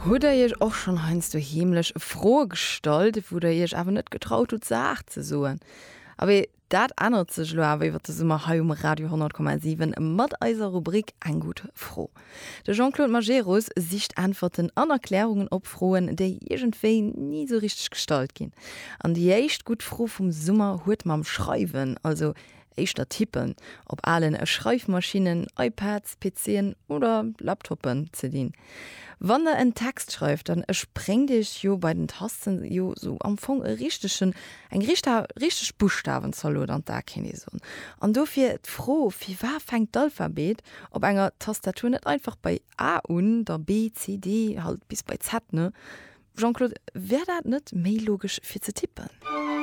Hutt der iech och schonn heiansdo heemlech Froe gestallt, wou der iech awer net getraut hutt se haart ze soen? Abee, dat ännert sech elo awer iwwer de Summer hei um Radio 100,7 mat eiser Rubrik Eng gutt Fro. De Jean-Claude Majerus sicht Äntwerten an Erklärungen op Froen, déi iergendwéi ni sou richteg gestallt ginn. An déi éischt gutt Fro vum Summer huet mam Schreiwen, also éischter Tippen, op alen Schreifmaschinnen, iPads, PCen oder Laptoppen ze dinn. Wann der en Text schreift, dann spréngt iech jo bei den Tasten jo sou am Fong e richtegen, eng richteg Buschtawenzalot an d'A kéint ee soen. An dofir d'Fro, Firwat fänkt d'Alphabet op enger Tastatur net einfach bei A un, da B, C, D, halt bis bei Z, ne? Jean-Claude, wär dat net méi logesch fir ze tippen?